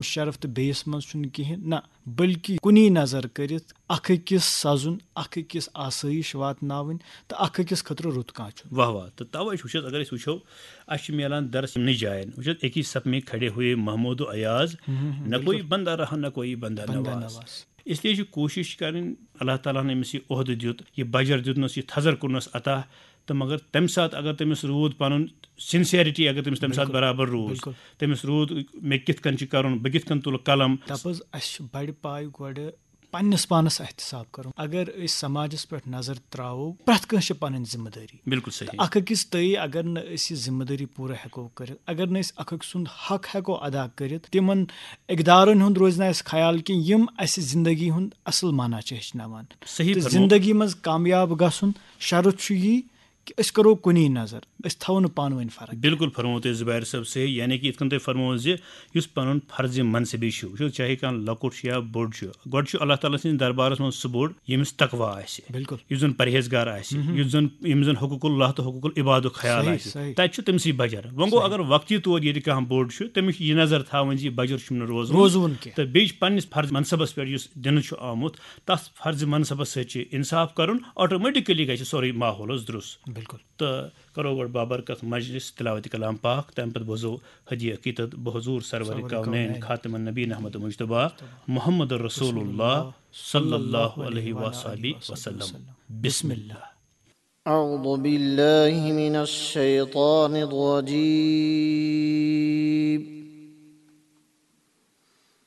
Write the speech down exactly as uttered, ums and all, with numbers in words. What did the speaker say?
شرف تہٕ بیٚیِس منٛز چھُنہٕ کِہیٖنۍ، نہ، بلکہِ کُنی نظر کٔرِتھ اکھ أکِس سَزُن، اکھ أکِس آسٲیِش واتناوٕنۍ تہٕ اکھ أکِس خٲطرٕ رُت کانٛہہ چھُنہٕ۔ واہ واہ۔ تہٕ تَوَے چھُ وٕچھ حظ، اگر أسۍ وٕچھو، اَسہِ چھُ میلان درس یِمنٕے جایَن۔ وٕچھ حظ، ایک ہی صف میں کھڑے ہوئے محمود و ایاز، ہُم، ہُم، ہُم، نہ کوئی بلکل۔ بندہ رہا، نہ کوئی بندہ بندہ نواز۔ نواز۔ اس لیے چھِ کوٗشِش کَرٕنۍ، اللہ تعالیٰ ہَن أمِس یہِ عہدٕ دیُت، یہِ بجر دیُتنَس، یہِ تھزر کوٚرنَس عطا، تہٕ مگر تَمہِ ساتہٕ اگر تٔمِس روٗد پَنُن sincerity، اگر تٔمِس تَمہِ ساتہٕ بِلکُل، برابر روٗز، بِلکُل۔ تٔمِس روٗد مےٚ کِتھ کٔنۍ چھُ کَرُن، بہٕ کِتھ کٔنۍ تُلہٕ قلم۔ دَپ حظ، اَسہِ چھُ بَڑِ پایہِ گۄڈٕ پننِس پانس احتساب کرُن۔ اگر أسۍ سماجس پٮ۪ٹھ نظر تراوو، پرٛٮ۪تھ کٲنٛسہِ چھِ پنٕنۍ ذمہٕ دٲری۔ بِلکُل صحیح۔ تہٕ اکھ أکِس تٲیی اگر نہٕ أسۍ یہِ ذمہٕ دٲری پوٗرٕ ہٮ۪کو کٔرِتھ، اگر نہٕ أسۍ اکھ أکۍ سُنٛد حق ہٮ۪کو ادا کٔرِتھ، تِمن اقدارن ہُنٛد روزِ نہٕ اَسہِ خیال کینٛہہ، یِم اَسہِ زندگی ہُنٛد اصل معنی چھِ ہیٚچھناوان۔ صحیح تہٕ فرمو۔ زندگی منٛز کامیاب گژھُن شرط چھُ یی کہِ أسۍ کرو کُنی نظر، أسۍ تھاوو نہٕ پانہٕ ؤنۍ فرق۔ بِلکُل فرموو تۄہہِ زُبیر صٲب صحیح، یعنی کہِ یِتھ کٔنۍ تۄہہِ فرمووُ زِ یُس پَنُن فرضِ منصبی چھُ، وٕچھِو، چاہے کانٛہہ لۄکُٹ چھُ یا بوٚڑ چھُ، گۄڈٕ چھُ اللہ تعالیٰ سٕنٛدِس دربارَس منٛز سُہ بوٚڑ ییٚمِس تقویٰ آسہِ، بِلکُل۔ یُس زَن پرہیزگار آسہِ، یُس زَن، یِم زَن حقوق اللہ تہٕ حقوق العبادُک خیال صحیح، آسہِ، صحیح۔ تَتہِ چھُ تٔمِسٕے بجر۔ وۄنۍ گوٚو، صحیح۔ اگر وقتی طور ییٚلہِ کانٛہہ بوٚڑ چھُ، تٔمِس چھُ یہِ نظر تھاوٕنۍ زِ یہِ بجر چھُم نہٕ روزُن۔ روزوُن کینٛہہ۔ تہٕ بیٚیہِ چھُ پنٛنِس فرضِ منصبَس پٮ۪ٹھ یُس دِنہٕ چھُ آمُت، تَتھ فرضِ منصبَس سۭتۍ چھُ اِنصاف کَرُن، automatically گژھِ سورُے ماحول حظ درُست۔ بِلکُل۔ تہٕ کرو گۄڈٕ بابرکت مجلس تلاوت کلام پاک، تَمہِ پتہٕ بوزو ہدیہ عقیدت بحضور سرور سرور کونین کونین۔ خاتم النبیین احمد مجتبیٰ محمد رسول اللہ صلی اللہ علیہ وآلہ وسلم۔ بسم اللہ۔ أعوذ بالله من الشيطان الرجيم.